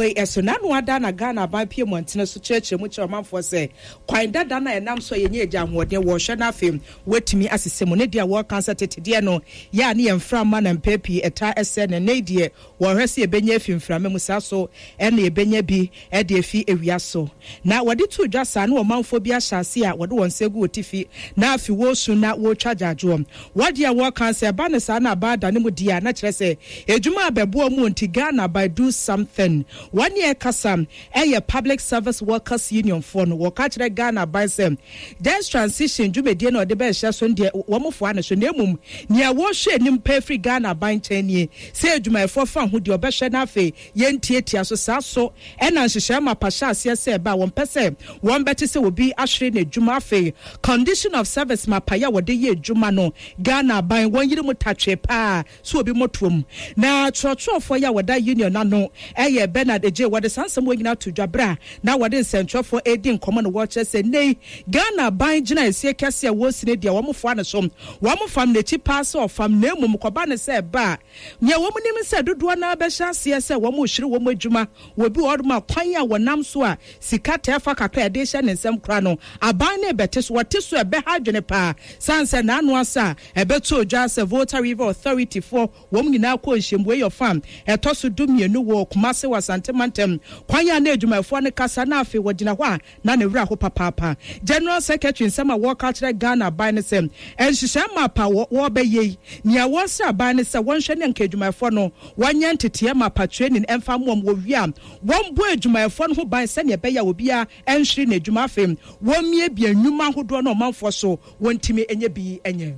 Wei so, n'ano ada na Ghana aban pue mmɔntene so kyerɛkyerɛ mu kyerɛ ɔmanfoɔ sɛ kwan dada no a ɛnam so a yɛnya agya ahoɔden wɔrehwɛ na afei wɔatumi asesɛ mu. Ne deɛ wɔreka sɛ tete deɛ no yɛ a ne yɛn mframa na mpɛn pii ɛtaa sɛe no, nnɛ yi deɛ wɔrehwɛ sɛ yɛbɛnya afi mframa mu saa so na yɛbɛnya bi de afi awia so. Na wɔde too dwa saa na ɔmanfoɔ bi ahyɛ aseɛ a wɔde wɔn nsa agu wɔ tifi na afi wɔresu na wɔretwa agyaadwoɔ. Wɔ deɛ wɔreka sɛ ɛba no saa na aban adane mu deɛ a na kyerɛ sɛ adwuma a bɛboa mu nti Ghana by do something. Wɔn ne ɛkasa ɛyɛ Public Service Workers Union foɔ no wɔka kyerɛ Ghana aban sɛ just transition dwumadie no a wɔde bɛhyɛ so no deɛ wɔn foa no so na mmom nea wɔrehwɛ anim paa firi Ghana aban nkyɛn nie sɛ adwumayɛfoɔ fa ho deɛ wɔbɛhwɛ na afei Yɛntiatia so. Saa so na nhyehyɛe mapa hyɛ aseɛ sɛ ɛba a wɔmpɛ sɛ wɔbɛte sɛ obi ahwere n'adwuma. Afei condition of service mapa yi a wɔde yɛ adwuma no, Ghana aban wɔn yere mu tatwee paa sɛ obi mmɔtoam. Na twerɛtwerɛfoɔ yi a wɔda union ano yɛ Bernard Adjei. Wɔde saa nsɛm wei nyinaa to dwa berɛ a na wɔde nsɛntwerɛfoɔ redi nkɔmmɔ na wɔrekyerɛ sɛ nnɛ yi Ghana aban gyinaeɛsie kɛseɛ a wɔresi no deɛ wɔfoa no so. Wɔfam n'akyi paa sɛ ɔfam na mmom kɔba no sɛ ɛba a Nea wɔnim ne sɛ dodoɔ no ara bɛhyɛ aseɛ sɛ wɔrehwere wɔn adwuma wɔ bi wɔ hɔnom a kwan a wɔnam so a sika taa fa kakra a yɛde rehyɛ ne nsam koraa no, aban no rebɛte so. Wɔte so a, ɛbɛha adwene pa ara. Sane sɛ n'ano asa a ɛbɛtɔ dwa sɛ Volta River Authority foɔ wɔn nyinaa kɔɔ nhyiam wei ɔfa a ɛtɔ so dumienu wɔ Kumase wɔ Asante mantam. Kwan a na adwumayɛfoɔ no kasa na afei wɔgyina hɔ a Na ne werɛ aho papaapa. General Secretary nsɛm a wɔreka akyerɛ Ghana aban ne sɛ, nhyehyɛe map a wɔrebɛyɛ yi, nea wɔresrɛ aban ne sɛ wɔnhwɛ ne anka adwumayɛfoɔ no wɔnyɛ nteteɛ mapa training mfa mmoa wɔn, wɔwie a wɔmmɔ adwumayɛfoɔ no ho ban sɛnea ɛbɛyɛ a obiara nhwere n'adwuma, afei wɔmmiabia nnwuma ahodoɔ na ɔmanfoɔ so wɔntumi nyɛ bi nyɛ.